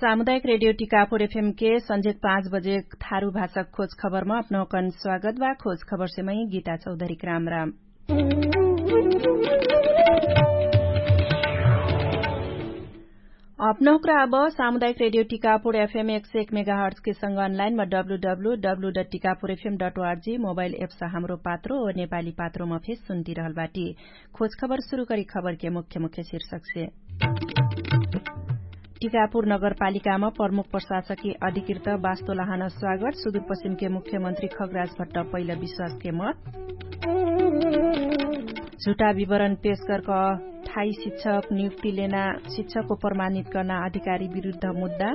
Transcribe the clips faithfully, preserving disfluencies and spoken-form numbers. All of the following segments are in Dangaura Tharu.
सामुदायिक रेडियो टिकापुर एफएम के संझेक पाँच बजे थारु भाषक खोज खबरमा अपनहुकन स्वागत बा। खोज खबरसे मै गीता चौधरी क्रामराम। अपनहुक्रा अब सामुदायिक रेडियो टिकापुर एफएम एक सय एक मेगाहर्ट्स के संग अनलाइन मा W W W dot Tikapur FM dot RG mobile apps Hamro Patro Nepali पात्रोमा फेस सुन्ती रहल बाटी। खोज खबर सुरु करी खबर के मुख्य मुख्य शीर्षक से। टिकापुर नगरपालिकामा प्रमुख प्रशासकी अधिकृत बास्तोलाहन स्वागत सुदुरपश्चिमके मुख्यमन्त्री खगराज भट्ट पहिला विश्वासके मत। झुटा विवरण पेश गर्क ठाई शिक्षक नियुक्ति लेना शिक्षकको प्रमाणित कर्ना अधिकारी विरुद्ध मुद्दा।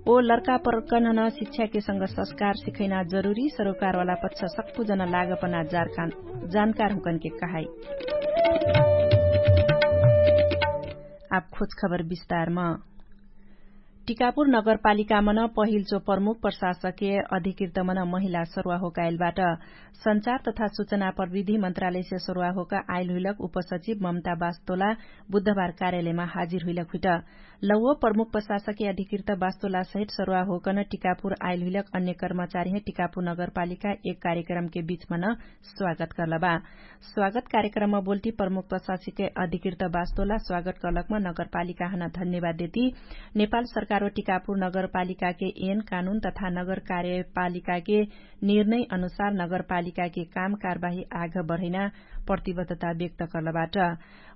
ओ लर्का प्रकन्हन शिक्षाके संग संस्कार सिखैना जरुरी सरोकारवाला पच्छ सक्कु जन लागपना जानकार हुँकनके कहाई। आप खोज खबर विस्तारम। टिकापुर नगरपालिकामन पहिल्चो प्रमुख प्रशासके अधिकृतमन महिला सरुवा होकाइलबाट। सञ्चार तथा सुचना प्रविधि मन्त्रालयसे सरुवा होका आइल हुइलक उपसचिव ममता बास्तोला बुधबार कार्यालयमा हाजिर हुइलक हुइट। लौव प्रमुख प्रशासके अधिकृत बास्तोला सहित सरुवा होकन टिकापुर आइल हुइलक अन्य कर्मचारीहे टिकापुर नगरपालिका एक कार्यक्रमके बिचमन स्वागत कर्लबा। स्वागत कार्यक्रममा बोल्टी प्रमुख प्रशासके अधिकृत बास्तोला स्वागत कर्लकमा नगरपालिकाहन धन्यवाद देती। नेपाल सरकार व टिकापुर नगरपालिकाके एन कानुन तथा नगर कार्यपालिकाके निर्णय अनुसार नगरपालिकाके काम कारबाही आघ बढैना प्रतिबद्धता व्यक्त कर्लबाट।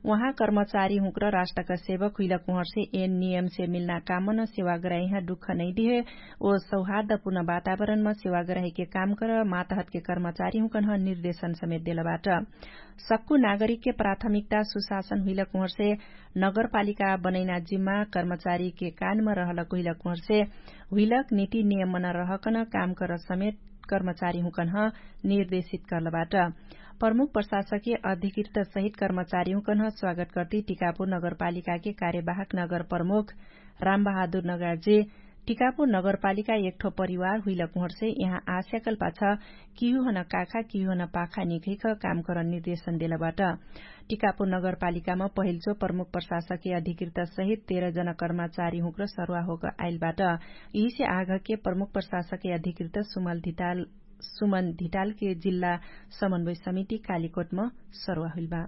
उहाँ कर्मचारी हुँक्र राष्ट्रका सेवक हुइलक उहर्से एन नियमसे मिल्ना कामन सेवाग्राहीह दुख नैदिहे ओ सौहार्दपुर्ण वातावरणमा सेवाग्राहीके काम कर मातहतके कर्मचारी हुँकन्ह निर्देशन समेत देलबाट। सक्कु नागरिकके प्राथमिकता सुशासन हुइलक उहर्से नगरपालिका बनैना जिम्मा कर्मचारीके कानमा रहलक हुइलक उहर्से हुइलक निति नियमन रहकन काम कर समेत कर्मचारी हुँकन्ह निर्देशित कर्लबाट। प्रमुख प्रशासके अधिकृत सहित कर्मचारी हुँकन्ह स्वागत कर्ती टिकापुर नगरपालिकाके कार्यवाहक नगर प्रमुख रामबहादुर नगार्जे टिकापुर नगरपालिका एकठो परिवार हुइलक उहर्से यहाँ आस्याकल पाछ किहुहन काखा किहुहन पाखा निखैख काम करन निर्देशन देलबाट। टिकापुर नगरपालिकामा पहिल्चो प्रमुख प्रशासके अधिकृत सहित तेह्र जन कर्मचारी हुँक्र सरुवा होक आइलबाट। यिहिसे आघके प्रमुख प्रशासके अधिकृत सुमन धिटालके जिल्ला समन्वय समिति कालिकोटम सरुवा हुइलबा।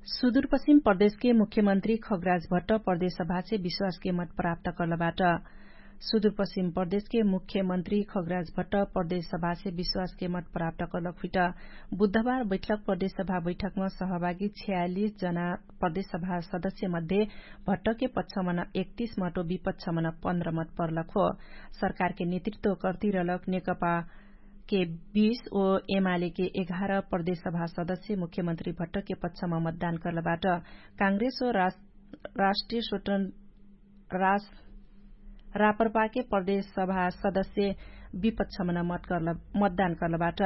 सुदुरपश्चिम प्रदेशके मुख्यमन्त्री खगराज भट्ट प्रदेशसभासे विश्वासके मत प्राप्त कर्लबाट। सुदुरपश्चिम प्रदेशके मुख्यमन्त्री खगराज भट्ट प्रदेशसभासे विश्वासके मत प्राप्त कर्लक हुइट। बुधबार बैठक प्रदेशसभा बैठकमा सहभागी छयालिस जना प्रदेशसभा सदस्य मध्ये भट्टके पक्षमन एकतिस मत ओ विपक्षमन पन्ध्र मत पर्लक हो। सरकारके नेतृत्व कर्तिरलक नेकपा के बीस ओ एमालेके एघार प्रदेशसभा सदस्य मुख्यमन्त्री भट्टके पक्षमा मतदान कर्लबाट। काङ्ग्रेस ओ राष्ट्रिय स्वतन्त्र रास रापरपाके प्रदेशसभा सदस्य विपक्षमन मतदान कर्लबाट।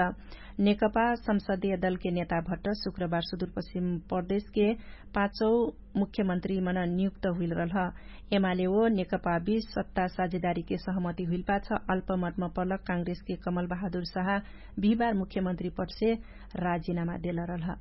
नेकपा संसदीय दलके नेता भट्ट शुक्रबार सुदुरपश्चिम प्रदेशके पाँचौ मुख्यमन्त्रीमन नियुक्त हुइलरलह। एमाले ओ नेकपा बीच सत्ता साझेदारीके सहमति हुइलपाछ अल्पमतमा पर्लक काङ्ग्रेसके कमल बहादुर साहा बिहिबार मुख्यमन्त्री पटसे राजिनामा देलरलह।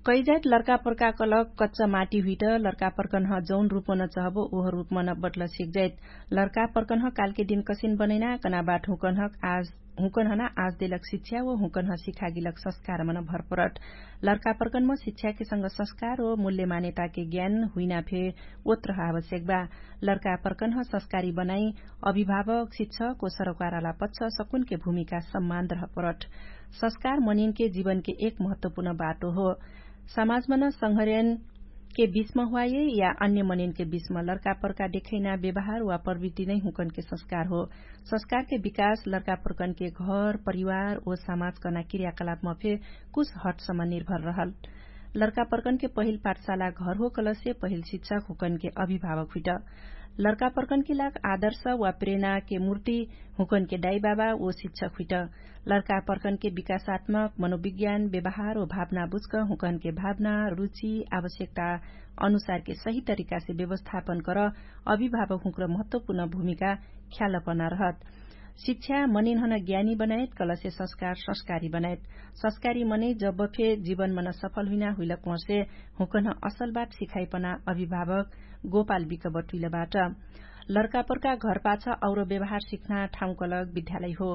कैजाइत लर्कापर्का कलक कच्च माटी हुइट लर्कापर्कन्ह जौन रुपमन चहबो ओह रुपमन बटल सिकजाइत। लर्कापर्कन्ह कालके दिन कसिन बनैना कनाबाट हुँकन्ह आज हुँकन्हना आज देलक शिक्षा ओ हुँकन्ह सिखागिलक संस्कारमन भरपरट। लर्कापर्कन्ह शिक्षाके संग संस्कार ओ मूल्य मान्यताके ज्ञान हुइना फे ओत्र आवश्यक बा। लर्कापर्कन्ह संस्कारी बनाई अभिभावक शिक्षक ओ सरकारवाला पच्छ सकुनके भूमिका सम्मान रहपरट। संस्कार मनिनके जीवनके एक महत्वपूर्ण बाटो हो। समाजमन संघर्यनके बिचमा हुवाइए या अन्य मनिनके बिचमा लर्कापर्का देखैना व्यवहार वा प्रवृत्ति नै हुँकनके संस्कार हो। संस्कारके विकास लर्कापर्कनके घर परिवार ओ समाज कर्ना क्रियाकलापमा फे कुछ हटसम्म निर्भर रहल। लर्कापर्कनके पहिल पाठशाला घर हो कलसे पहिल शिक्षक हुँकनके अभिभावक हुइट। लर्कापर्कनके लाग आदर्श वा प्रेरणाके मूर्ति हुँकनके डाइबाबा ओ शिक्षक हुइट। लर्कापर्कनके विकासात्मक मनोविज्ञान व्यवहार ओ भावना बुझ्क हुँकनके भावना रुचि आवश्यकता अनुसारके सही तरिकासे व्यवस्थापन कर अभिभावक हुँक्र महत्वपूर्ण भूमिका ख्यालपना रहत। शिक्षा मनिन्हन ज्ञानी बनायत कलसे संस्कार संस्कारी बनायत। संस्कारी मनै जब्ब फे जीवनमन सफल हुइना हुइलक उहर्से हुँकन्ह असल बात सिखाइपना अभिभावक गोपाल बिकबट हुइलबाट। लर्कापर्का घरपाछ और व्यवहार सिख्ना ठाउँकलक विद्यालय हो।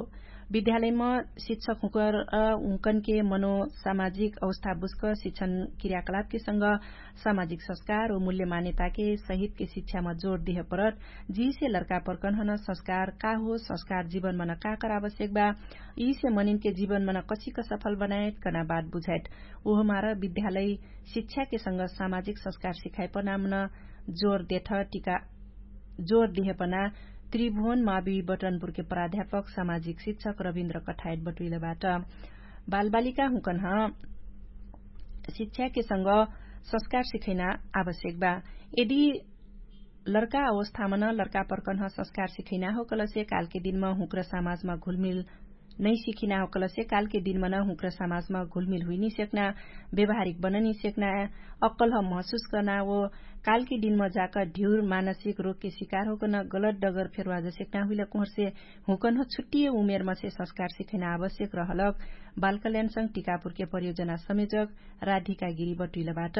विद्यालयम शिक्षक हुँकर हुँकनके मनो सामाजिक अवस्था बुस्क शिक्षण क्रियाकलापके संग सामाजिक संस्कार व मूल्य मान्यताके सहितके शिक्षाम जोर देह परत। जिसे लर्कापर्कन्हन संस्कार का हो संस्कार जीवनमन का कर आवश्यक बा, यिसे मनिनके जीवनमन कसिक सफल बनायत कना बात बुझायत। उहमार विद्यालय शिक्षाके संग सामाजिक संस्कार सिखाइपनामन जोर देह पना त्रिभुवन मावि बटनपुरके प्राध्यापक सामाजिक शिक्षक रविन्द्र कठायत बटुइलबाट। बालबालिका हुँकन्ह शिक्षाके संग संस्कार सिखैना आवश्यक बा। यदि लर्का अवस्थामन लर्का पर्कन्ह संस्कार सिखैना हो कलसे कालके दिनमा हुँक्र समाजमा घुलमिल नैसिखिना हो कलसे कालके दिनमन हुँक्र समाजमा घुलमिल हुइनिसेक्ना, व्यवहारिक बननिसेक्ना, अक्कलह महसुस कर्ना वो कालके दिनमा जाक ढिउर मानसिक रोगके सिकार होकन गलत डगर फेरवाजसेक्ना हुइलक उहर्से हुँकन्ह छुट्टिय उमेरमसे संस्कार सिखैना आवश्यक रहलक। बालकल्याणसँग टिकापुरके परियोजना समेजक राधिका गिरी बटुइलबाट।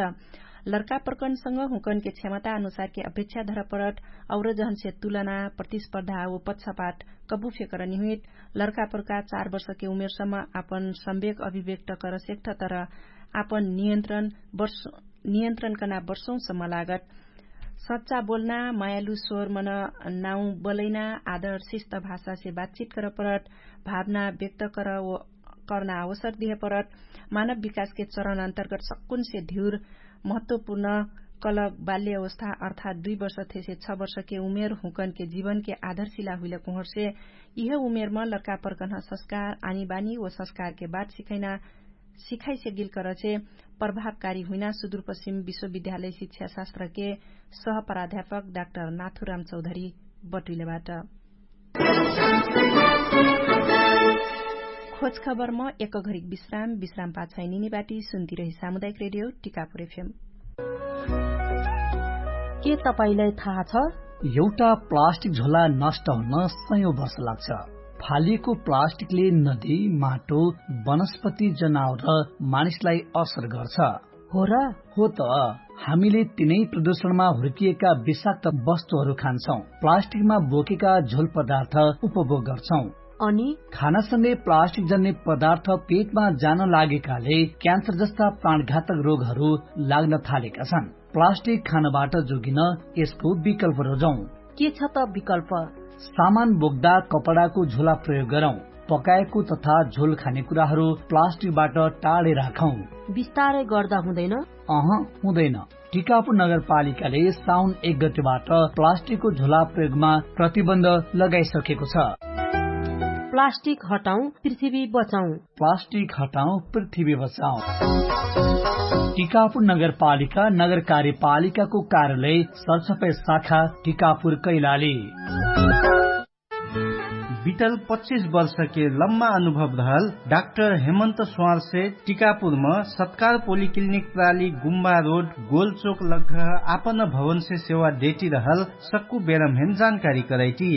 लर्का पर्कन्सँग हुँकन्हके क्षमता अनुसारके अपेक्षा धरपरट और जहन्से तुलना प्रतिस्पर्धा वो पक्षपाट कबु फेकरनिहुइट। लर्का पर्का चार वर्षके उमेरसम्म आपन सम्वेक अभिव्यक्त करसेक्ठ तर आपन नियन्त्रण कना वर्षौसम्म लागत। सच्चा बोल्ना मायालु स्वरमन नाउ बलैना आदर शिष्ट भाषासे बातचित करपरट भावना व्यक्त करना अवसर दिहपरट। मानव विकासके चरण अन्तर्गत सक्कुनसे ढिउर महत्वपुर्ण कलक बाल्य अवस्था अर्थात दुइ वर्ष थेसे छ वर्षके उमेर हुँकनके जिवनके आधारशिला हुइलक उहर्से यिह उमेरम लर्का पर्कन्ह संस्कार आनीबानी व संस्कारके बात सिखैना सिखाइसेगिल करछे। प्रभावकारी हुइना सुदुरपश्चिम विश्वविद्यालय शिक्षाशास्त्रके सहप्राध्यापक डाक्टर नाथुराम चौधरी बटुइलबाट। खोजखबरम एक घरिक विश्राम विश्राम पाछैनिनी बाटी सुन्तिरही सामुदायिक रेडियो टिकापुर एफएम। के तपाईंलाई थाहा छ? एउटा प्लास्टिक झोला नष्ट हुन सयौं वर्ष लाग्छ। फालिएको प्लास्टिकले नदी, माटो, वनस्पति, जनावर र मानिसलाई असर गर्छ। हो र? हो त। हामीले तिनै प्रदूषणमा हुर्किएका विषाक्त वस्तुहरू खान्छौं, प्लास्टिकमा बोकेका झोल पदार्थ उपभोग गर्छौं। अनि खानासँगै प्लास्टिक जन्ने पदार्थ पेटमा जान लागेकाले क्यान्सर जस्ता प्राणघातक रोगहरू लाग्न थालेका छन्। प्लास्टिक खानबाट जोगिन यसको विकल्प रोजौं। के छ त विकल्प? सामान बोक्दा कपडाको झोला प्रयोग गरौं। पकाएको तथा झोल खाने कुराहरू प्लास्टिकबाट टाढे राखौं। बिस्तारै गर्दा हुँदैन? अह, हुँदैन। टिकापुर नगरपालिकाले साउन एक गतिबाट प्लास्टिकको झोला प्रयोगमा प्रतिबन्ध लगाइसकेको छ। प्लास्टिक हटाउँ, पृथ्वी बचाउँ। प्लास्टिक हटाउँ, पृथ्वी बचाउँ। टिकापुर नगरपालिका नगर कार्यपालिकाको कार्यालय सरसफाई शाखा टिकापुर कैलाली। बितल पच्चिस वर्षके लम्मा अनुभव रहल डाक्टर हेमन्त स्वारसे टिकापुरम सत्कार पोलिक्लिनिक प्राली गुम्बा रोड गोलचोक लग्घ आपन भवनसे सेवा देटी रहल सक्कु बेरम हेम जानकारी करैटी।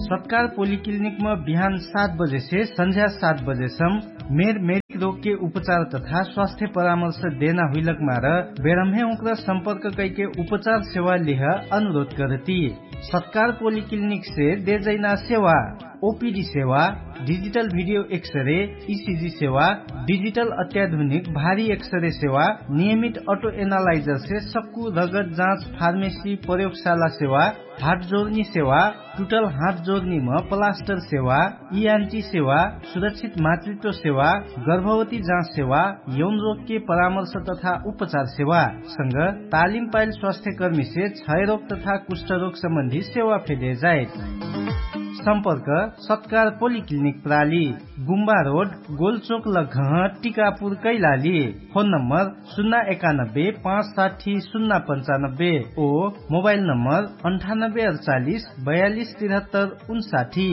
सत्कार पोलिक्लिनिकम बिहान सात बजेसे संझ्या सात बजेसम मेर मेरिक रोगके उपचार तथा स्वास्थ्य परामर्श देना हुइलक मार बेरम्हे उक्र सम्पर्क कैके उपचार सेवा लिह अनुरोध करती। सत्कार पोलिक्लिनिकसे देजैना सेवा, ओपिडी सेवा, डिजिटल भिडियो एक्सरे, इसिजी सेवा, डिजिटल अत्याधुनिक भारी एक्सरे सेवा, नियमित अटो एनालाइजरसे सक्कु रगत जाँच फार्मेसी प्रयोगशाला सेवा, हात जोर्नी सेवा, टुटल हात जोर्नीम प्लास्टर सेवा, इआन्टी सेवा, सुरक्षित मातृत्व सेवा, गर्भवती जाँच सेवा, यौन रोगके परामर्श तथा उपचार सेवा संग तालिम पाइल स्वास्थ्यकर्मीसे क्षयरोग तथा कुष्ठरोग सम्बन्धी सेवा फेदे जाइत। सम्पर्क सत्कार पोलिक्लिनिक प्राली, गुम्बा रोड, गोलचोक लग्घह, टिकापुर कैलाली। फोन नम्बर सुन्ना एकानब्बे पाँच साठी सुन्ना पन्चानब्बे ओ मोबाइल नम्बर अन्ठानब्बे अडचालिस बयालिस तिरहत्तर उन्साठी।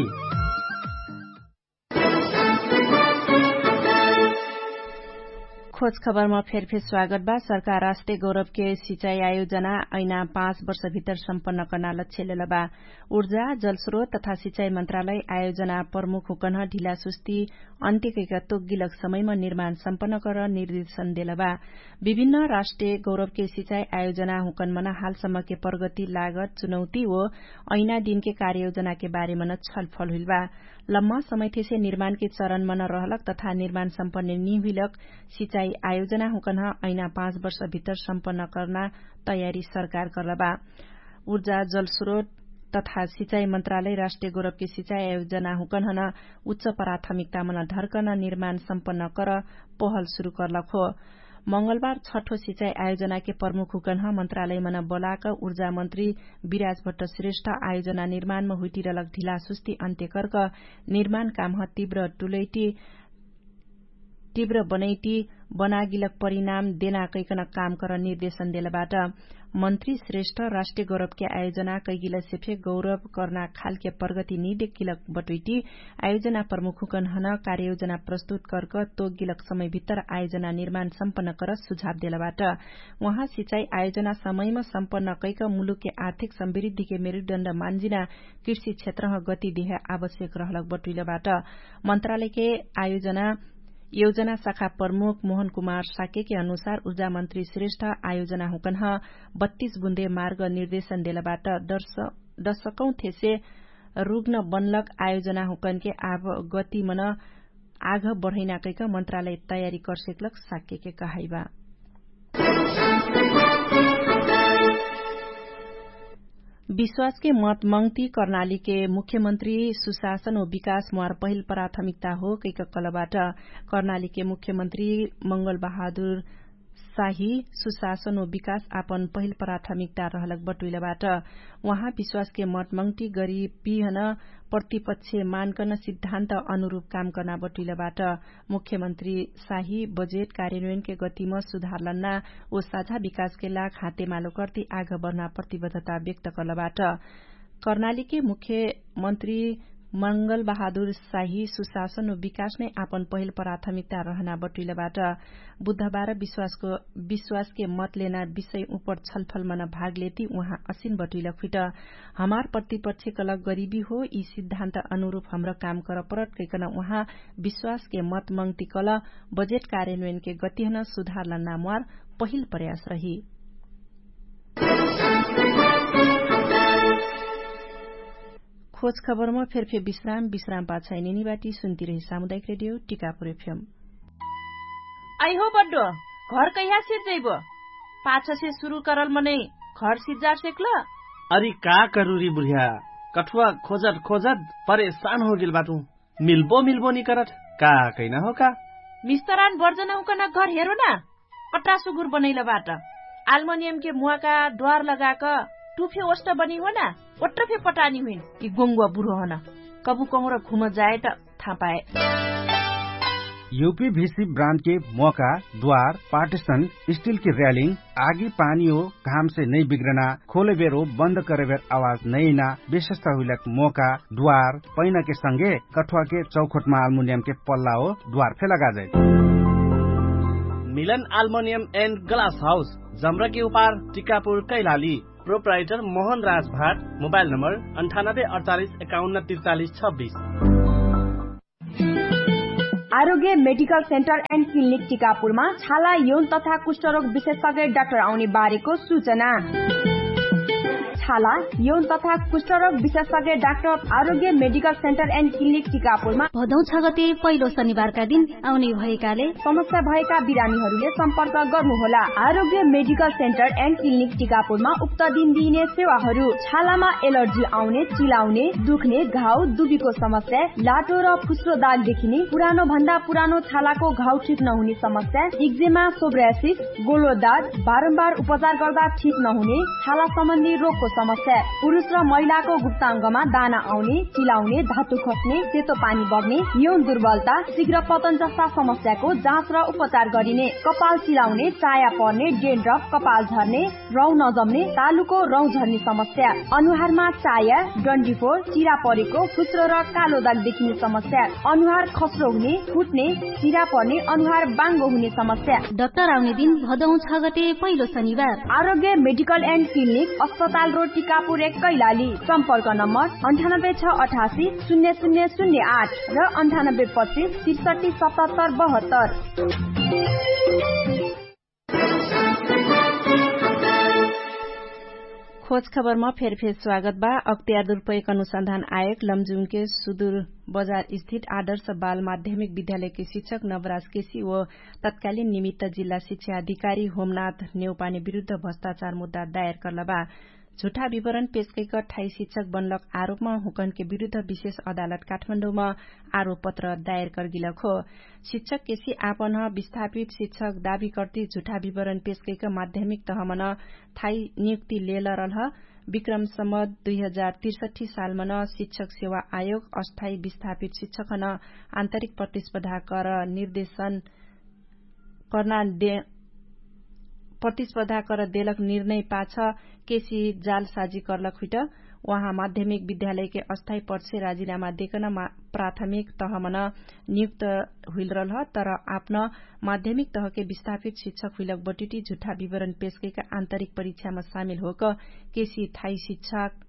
खोज खबरमा फेरफेर स्वागत बा। सरकार राष्ट्रिय गौरवके सिचाइ आयोजना ऐना पाँच वर्षभित्र सम्पन्न कर्ना लक्ष्य लेलबा। उर्जा जलस्रोत तथा सिचाइ मन्त्रालय आयोजना प्रमुख हुकन्ह ढिलासुस्ती अन्त्यकैका तोग्गिलक समयमा निर्माण सम्पन्न कर निर्देशन देलबा। विभिन्न राष्ट्रिय गौरवके सिचाइ आयोजना हुकन्हमन हालसम्मके प्रगति लागत चुनौती ओ ऐना दिनके कार्ययोजनाके बारेमन छलफल हुइलबा। लम्मा समयथेसे निर्माणके चरणमन रहलक तथा निर्माण सम्पन्न निहुइलक सिचाइ आयोजना हुकन्ह ऐना पाँच वर्षभित्र सम्पन्न कर्ना तयारी सरकार कर्लबा। उर्जा जलस्रोत तथा सिचाइ मन्त्रालय राष्ट्रिय गौरवके सिचाइ आयोजना हुकन्हन उच्च प्राथमिकतामन ढर्कन निर्माण सम्पन्न कर पहल सुरु कर्लक हो। मंगलबार छठो सिचाइ आयोजनाके प्रमुख हुकन्ह मन्त्रालयमन बोलाक उर्जा मन्त्री विराजभट्ट श्रेष्ठ आयोजना निर्माणमा हुइटिरलक ढिलासुस्ती अन्त्यकर्क निर्माण कामह तीव्र टुलैटी तीव्र बनैटी बनागिलक परिणाम देना कैकन काम कर निर्देशन देलबाट। मन्त्री श्रेष्ठ राष्ट्रिय गौरवके आयोजना कैगिलसे फे गौरव कर्ना खालके प्रगति निदेकिलक बटुइटी आयोजना प्रमुख हुकन्हन कार्ययोजना प्रस्तुत कर्क तोगिलक समयभित्तर आयोजना निर्माण सम्पन्न कर सुझाव देलबाट। उहाँ सिचाइ आयोजना समयमा सम्पन्न कैक मुलुकके आर्थिक समृद्धिके मेरुदण्ड मान्जिना कृषि क्षेत्रह गति देह आवश्यक रहलक बटुइलबाट। मन्त्रालयके आयोजना योजना शाखा प्रमुख मोहन कुमार शाक्यके अनुसार उर्जा मन्त्री श्रेष्ठ आयोजना हुकन्ह बत्तीस बुन्दे मार्ग निर्देशन देलबाट। दर्शकौं थेसे रुग्न बनलक आयोजना हुकन्के आभ गतिमन आघ बढैना कैक मन्त्रालय तयारी कर्सेकलक शाक्यके कहाइबा। विश्वासके मत मङ्ति कर्नालीके मुख्यमन्त्री सुशासन व विकास म्वार पहिल प्राथमिकता हो कैक कलबाट। कर्नालीके मुख्यमन्त्री मंगल बहादुर साही सुशासन व विकास आपन पहिल प्राथमिकता रहलक बटुइलबाट। उहाँ विश्वासके मत मङ्ति गरी पिहन प्रतिपक्ष मानकन सिद्धान्त अनुरूप काम कर्ना बटुइलबाट। मुख्यमन्त्री साही बजेट कार्यन्वयनके गतिम सुधार लन्ना ओ साझा विकासके लाग हातेमालो कर्ति आघ बढ्ना प्रतिबद्धता व्यक्त कर्लबाट। कर्नालीके मुख्यमन्त्री मंगल बहादुर साही सुशासन ओ विकासमे आपन पहिल प्राथमिकता रहना बटुइलबाट। बुधबार विश्वासके मतलेना विषय उपर छलफलमन भागलेति उहाँ असिन बटुइलक फिट हमार प्रतिपक्ष कलक गरिबी हो यि सिद्धान्त अनुरूप हमरा काम करपरत कैकन उहाँ विश्वासके मत मङ्ति कल बजेट कार्यन्वयनके गतिहन सुधार लन्ना म्वार पहिल प्रयास रही। खोज खबरमा फेरफे विश्राम विश्राम पाछाइ निनिबाटी सुन्तिरही सामुदायिक रेडियो टिकापुर एफएम। अइहो बड्डो, घर कैहा सिर्जैबो? पाछसे सुरु करल मनै घर सिर्जार सेक्ल? अरि का करुरी बुढिया, कठुवा खोजत खोजत परेशान होगेल बाटु। मिल्बो मिल्बो निकरत का कैना हो का? मिस्तरान बर्जन हुकन घर हेरो ना। कट्रा सुगुर बनैल बाट। आल्मोनियमके मुवाका द्वार लगाक टुफे ओष्ट बनी हो ना। ओट्रफे पटानी हुइन कि गोङ्गुवा बुढो हन। कबु कहुँर घुम जाए त थापाए। युपी भिसी ब्रान्डके मोका द्वार पार्टिसन स्टिलके र्यालिङ आगी पानी हो घामसे नै बिग्रना खोलेबेर हो बन्द करेबेर आवाज नैना विशेषता हुइलक मोका द्वार पैनाके संगे कठुवाके चौखोटमा आल्मुनियमके पल्ला हो द्वार फे लगाजै। मिलन आल्मुनियम एन्ड ग्लास हाउस जम्रके उपार टिकापुर कैलाली। प्रोप्राइटर मोहन राज भाट। मोबाइल नम्बर अन्ठानब्बे अडचालिस एकाउन्न त्रिचालिस छब्बिस। आरोग्य मेडिकल सेन्टर एन्ड क्लिनिक टिकापुरमा छाला यौन तथा कुष्ठरोग विशेषज्ञ डाक्टर आउने बारेको सूचना। छाला यौन तथा कुष्ठरोग विशेषज्ञ डाक्टर आरोग्य मेडिकल सेन्टर एन्ड क्लिनिक टिकापुरमा भदौ छ गते पहिलो शनिबारका दिन आउने भएकाले समस्या भएका बिरामीहरूले सम्पर्क गर्नुहोला। आरोग्य मेडिकल सेन्टर एन्ड क्लिनिक टिकापुरमा उक्त दिन दिइने सेवाहरू छालामा एलर्जी आउने, चिलाउने, दुख्ने, घाउ दुबीको समस्या, लाटो र फुस्रो दाग देखिने, पुरानो भन्दा पुरानो छालाको घाउ ठिक नहुने समस्या, इक्जेमा, सोब्रासिस, गोलो दाग, बारम्बार उपचार गर्दा ठिक नहुने छाला सम्बन्धी रोगको समस्या पुरुष र महिलाको गुप्ताङ्गमा दाना आउने, चिलाउने, धातु खस्ने, सेतो पानी बग्ने, यौन दुर्बलता, शीघ्र पतन जस्ता समस्याको जाँच र उपचार गरिने। कपाल चिलाउने, चाया पर्ने, डेन्ड्रफ, कपाल झर्ने, रौँ नजम्ने, तालुको रौँ झर्ने समस्या, अनुहारमा चाया, डन्डीफोर, चिरा परेको, फुस्रो र कालो दाग देखिने समस्या, अनुहार खस्रो हुने, फुट्ने, चिरा पर्ने, अनुहार बाङ्गो हुने समस्या। डाक्टर आउने दिन भदौ छ गते पहिलो शनिबार। आरोग्य मेडिकल एन्ड क्लिनिक, अस्पताल रोड, टिकापुर एक, कैलाली। सम्पर्क नम्बर अन्ठानब्बे छ अठासी शून्य शून्य शून्य आठ र अन्ठानब्बे पच्चिस त्रिसठी सतहत्तर बहत्तर। खोज खबरमा फेरफेर स्वागत बा। अक्तियार दुरुपयोग अनुसन्धान आयोग लमजुङके सुदुर बजार स्थित आदर्श बाल माध्यमिक विद्यालयके शिक्षक नवराज केसी व तत्कालिन निमित्त जिल्ला शिक्षा अधिकारी होमनाथ नेउपाने विरुद्ध भ्रष्टाचार मुद्दा दायर कर्लबा। झुठा विवरण पेशकैक ठाई शिक्षक बनलक आरोपमा हुँकनके विरुद्ध विशेष अदालत काठमाण्डौमा आरोपपत्र दायर कर्गिलक हो। शिक्षक केसी आपन विस्थापित शिक्षक दाबी कर्ति झुठा विवरण पेशकैक माध्यमिक तहमन ठाई नियुक्ति लेलरलह। विक्रम सम्बत दुई हजार तिरसठी सालमन शिक्षक सेवा आयोग अस्थायी विस्थापित शिक्षकन आन्तरिक प्रतिस्पर्धा कर निर्देशन कर्ना दे प्रतिस्पर्धा कर देलक निर्णय पाछ केसी जालसाजी कर्लक हुइट। उहाँ माध्यमिक विद्यालयके अस्थायी पक्षे राजिनामा देकन प्राथमिक तहमन नियुक्त हुइलरलह। तर आपन माध्यमिक तहके विस्थापित शिक्षक हुइलक बटिटी झुठा विवरण पेशकैक आन्तरिक परीक्षामा सामिल होक केसी ठाई शिक्षक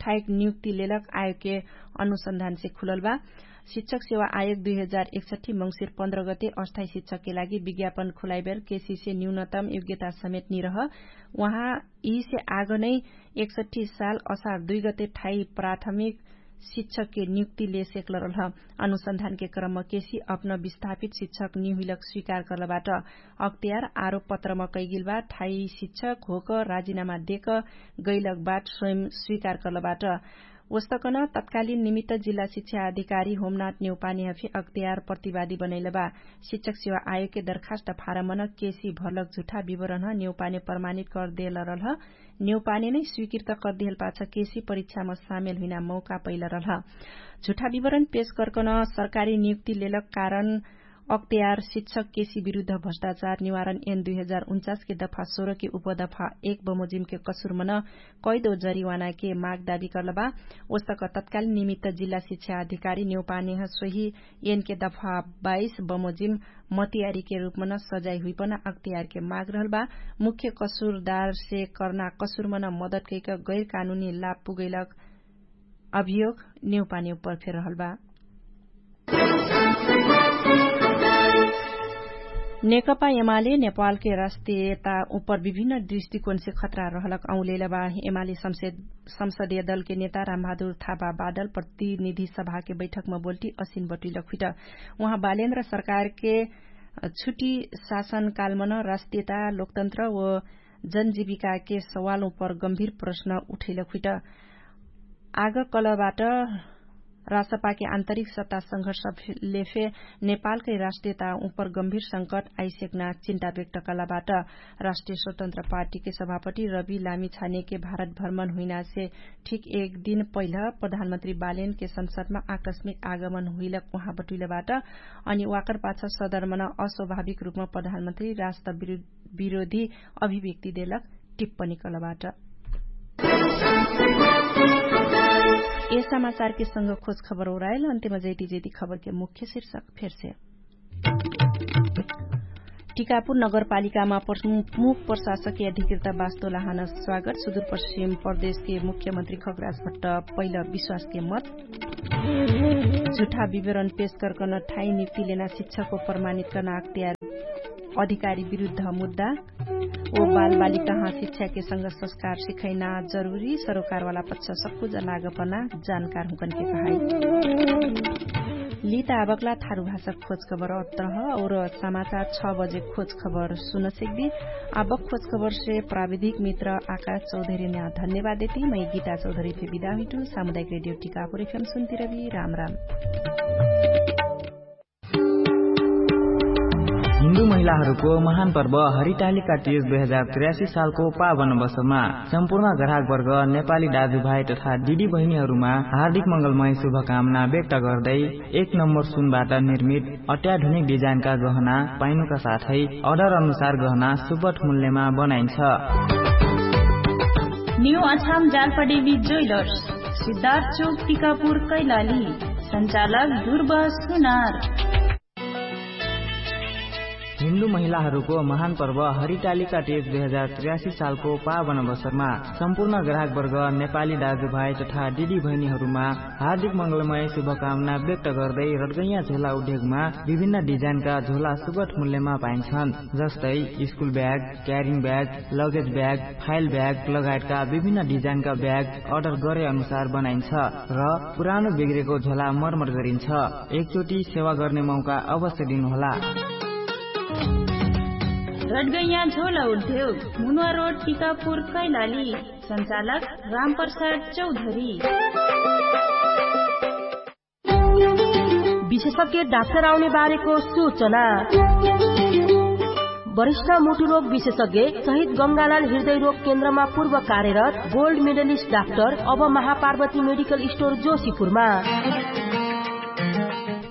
ठाइक नियुक्ति लेलक आयोगके अनुसन्धानसे खुलल बा। शिक्षक सेवा आयोग दुई हजार एकसठी मङ्सिर पन्ध्र गते अस्थायी शिक्षकके लागि विज्ञापन खुलाइबेर केसीसे न्यूनतम योग्यता समेत निरह। उहाँ यिसे आगनै एकसठी साल असार दुई गते ठाई प्राथमिक शिक्षकके नियुक्ति ले सेक्लरलह। अनुसन्धानके क्रममा केसी अपन विस्थापित शिक्षक निहुइलक स्वीकार कर्लबाट अक्तियार आरोपपत्रमा कैगिलबा ठाई शिक्षक होक राजिनामा देक गैलक बाट स्वयं स्वीकार कर्लबाट। वस्तकन तत्कालिन निमित्त जिल्ला शिक्षा अधिकारी होमनाथ नेउपाने हफी अक्तियार प्रतिवादी बनैलबा। शिक्षक सेवा आयोगके दरखास्त फारमन केसी भर्लक झुठा विवरण नेउपाने प्रमाणित कर्देलरलह। नेउपाने नै स्वीकृत कर्देहल पाछ केसी परीक्षामा सामेल हुइना मौका पैलरलह। झुठा विवरण पेश कर्कन सरकारी नियुक्ति लेलक कारण अक्तियार शिक्षक केसी विरुद्ध भ्रष्टाचार निवारण एन दुई हजार उन्चासके दफा सोह्रके उपदफा एक बमोजिमके कसुरमन कैदो जरिवानाके माग दाबी कर्लबा। ओस्तक तत्कालिन निमित्त जिल्ला शिक्षा अधिकारी नेउपानेह सोही एनके दफा बाइस बमोजिम मतियारीके रूपमन सजाइ हुइपन अक्तियारके माग रहलबा। मुख्य कसुरदारसे कर्ना कसुरमन मदतकैक गैरकानुनी लाभ पुगैलक अभियोग नेउपाने उपर फेर रहलबा। नेकपा एमाले नेपालके राष्ट्रियता उपर विभिन्न दृष्टिकोणसे खतरा रहलक औलेलबा। एमाले संसदीय दलके नेता रामबहादुर थापा बादल प्रतिनिधि सभाके बैठकमा बोल्टी असिन बटुइलक हुइट। उहाँ बालेन्द्र सरकारके छुट्टी शासनकालमन राष्ट्रियता लोकतन्त्र व जनजीविकाके सवाल उपर गम्भीर प्रश्न उठैलक हुइट। आग कलबाट राष्ट्रपाके आन्तरिक सत्ता संघर्षले फे नेपालकै राष्ट्रियता उपर गम्भीर संकट आइसेक्ना चिन्ता व्यक्त कलाबाट। राष्ट्रिय स्वतन्त्र पार्टीके सभापति रवि लामी छानेके भारत भ्रमण हुइनासे ठिक एक दिन पहिल प्रधानमन्त्री बालेनके संसदमा आकस्मिक आगमन हुइलक उहाँ बटुइलबाट। अनि वाकर पाछ सदरमन अस्वाभाविक रूपमा प्रधानमन्त्री राष्ट्र विरोधी अभिव्यक्ति देलक टिप्पणी कलबाट। यस समाचारके संग खोज खबर ओरायल अन्त्यमा जैती जैती खबरके मुख्य शीर्षक फेरसे। टिकापुर नगरपालिकामा प्रमुख प्रशासकके अधिकृत बास्तो लाहान स्वागत सुदूरपश्चिम प्रदेशके मुख्यमन्त्री खगराज भट्ट पहिल विश्वासके मत। झुठा विवरण पेश गर्कन ठाई नियुक्ति लेना शिक्षाको प्रमाणित कर्ना अख्तियार अधिकारी विरुद्ध मुद्दा। ओ बालबालिकाहाँ शिक्षाके संग संस्कार सिखैना जरुरी सरोकारवाला पक्ष सक्कुज लागपना जानकार हुँकनके कहाई। लिता आबकला थारु भाषा खोज खबर अत्रह और समाचार छ बजे खोज खबर सुन सिक्दी। आबक खोज खबरसे प्राविधिक मित्र आकाश चौधरीन्या धन्यवाद देती मै गीता चौधरीफे बिदा हुइटु। सामुदायिक रेडियो टिकापुर एफएम सुन्तिरबी। राम राम। हिन्दू महिला महिलाहरूको महान पर्व हरितालिका तीज दुई हजार त्रियासी सालको पावन अवसरमा सम्पूर्ण ग्राहकवर्ग, नेपाली दाजुभाइ तथा दिदी बहिनीहरूमा हार्दिक मङ्गलमय शुभकामना व्यक्त गर्दै एक नम्बर सुनबाट निर्मित अत्याधुनिक डिजाइनका गहना पाइनुका साथै अर्डर अनुसार गहना सुपट मूल्यमा बनाइन्छ। न्यू अछाम जालपादेवी ज्वेलर्स, सिद्धार्थ चोक, टिकापुर, कैलाली। सञ्चालक ध्रुव सुनार। हिन्दू महिलाहरूको महान पर्व हरितालिका तीज दुई हजार त्रियासी सालको पावन अवसरमा सम्पूर्ण ग्राहकवर्ग, नेपाली दाजुभाइ तथा दिदी बहिनीहरूमा हार्दिक मङ्गलमय शुभकामना व्यक्त गर्दै रडगैया झोला उद्योगमा विभिन्न डिजाइनका झोला सुगट मूल्यमा पाइन्छन्, जस्तै school bag, carrying bag, luggage bag, file bag लगायतका विभिन्न डिजाइनका ब्याग अर्डर गरे अनुसार बनाइन्छ र पुरानो बिग्रेको झोला मर्मर गरिन्छ। एकचोटि सेवा गर्ने मौका अवश्य दिनुहोला। रडगैया झोला उद्योग, मुनुवा रोड, टिकापुर, कैलाली। सञ्चालक रामप्रसाद चौधरी। विशेषज्ञ डाक्टर आउने बारेको सूचना। वरिष्ठ मुटुरोग विशेषज्ञ सहित गङ्गालाल हृदय रोग केन्द्रमा पूर्व कार्यरत गोल्ड मेडलिस्ट डाक्टर अब महापार्वती मेडिकल स्टोर जोशीपुरमा।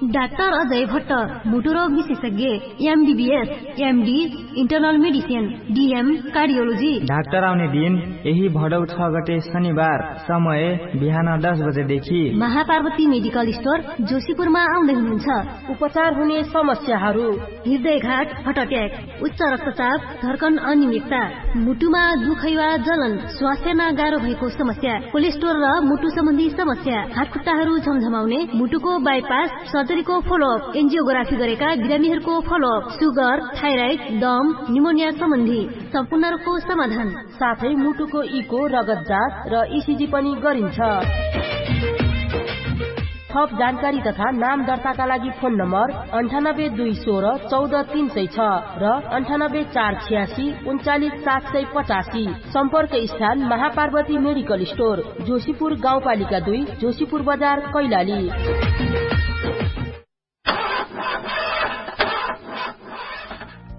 डाक्टर अजय भट्ट, मुटुरोग विशेषज्ञ, MBBS, MD, internal medicine, DM, cardiology. Doctor आउने दिन यही भडौ छ गते शनिबार, समय बिहान दस बजेदेखि। महापार्वती मेडिकल स्टोर जोशीपुरमा आउँदै हुनुहुन्छ। उपचार हुने समस्याहरू। हृदयघाट, हर्ट अट्याक, उच्च रक्तचाप, धर्कन अनियमितता, मुटुमा दुखैवा जलन, स्वास्थ्यमा गाह्रो भएको समस्या, कोलेस्ट्रोल र मुटु सम्बन्धी समस्या, हातखुट्टाहरू झमझमाउने, मुटुको बाइपास, सर्जरीको फलोअप, एन्जियोग्राफी गरेका बिरामीहरूको फलोअप, सुगर, थाइराइड, दम, निमोनिया सम्बन्धी सम्पूर्णहरूको समाधान। साथै मुटुको इको, रगत जाँच र इसिजी पनि गरिन्छ। थप जानकारी तथा नाम दर्ताका लागि फोन नम्बर अन्ठानब्बे दुई सोह्र चौध तीन सय छ र अन्ठानब्बे चार छ्यासी उन्चालिस सात सय पचासी। सम्पर्क स्थान महापार्वती मेडिकल स्टोर, जोशीपुर गाउँपालिका दुई, जोशीपुर बजार, कैलाली।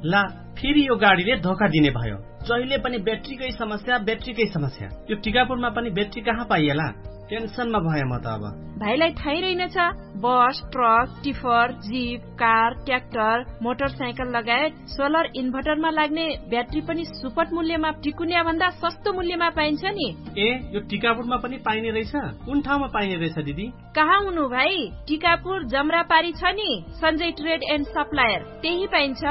ला, फेरि यो गाडीले धोका दिने भयो। जहिले पनि ब्याट्रीकै समस्या, ब्याट्रीकै समस्या। यो टिकापुरमा पनि ब्याट्री कहाँ पाइएला? टेन्सनमा भए म त अब। भाइलाई थाहै रहेनछ, बस, truck, tipper, zip, car, tractor, motorcycle लगायत सोलर इन्भर्टरमा लाग्ने ब्याट्री पनि सुपट मूल्यमा टिकुन्या भन्दा सस्तो मूल्यमा पाइन्छ नि। ए, यो टिकापुरमा पनि पाइने रहेछ? कुन ठाउँमा पाइने रहेछ दिदी? कहाँ हुनु भाइ? टिकापुर जमरापारी छ नि, सञ्जय ट्रेड एन्ड सप्लायर, त्यही पाइन्छ।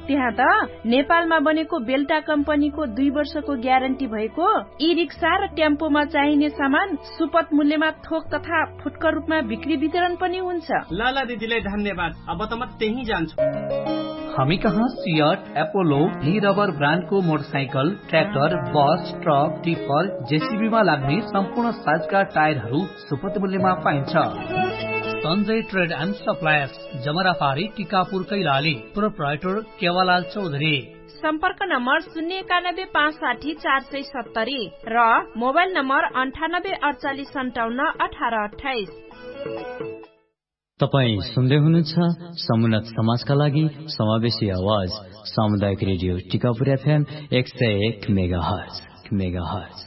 त्यहाँ त नेपालमा बनेको बेल्टा कम्पनीको दुई वर्षको ग्यारेन्टी भएको ई रिक्सा र टेम्पोमा चाहिने सामान सुपथ मूल्यमा थोक तथा फुटकर रूपमा बिक्री वितरण पनि हुन्छ। ल ल दिदीलाई धन्यवाद, अब त म त्यही जान्छु। हामी कहाँ सियट, एपोलो, ली रबर ब्रान्डको मोटरसाइकल, ट्र्याक्टर, बस, ट्रक, टिपर, जेसिबीमा लाग्ने सम्पूर्ण साइजका टायरहरू सुपथ मूल्यमा पाइन्छ। सञ्जय ट्रेड एन्ड सप्लायर्स, जमराफारी, टिकापुर, कैलाली। प्रोप्राइटर केवालाल चौधरी। सम्पर्क नम्बर शून्य एकानब्बे पाँच साठी चार सय सत्तरी र मोबाइल नम्बर अन्ठानब्बे अडचालिस सन्ताउन्न अठार अट्ठाइस। तपाईँ सुन्दै हुनुहुन्छ समुन्नत समाजका लागि समावेशी आवाज, सामुदायिक रेडियो टिकापुर एफएम एक सय एक मेगाहर्ज, मेगाहर्ज।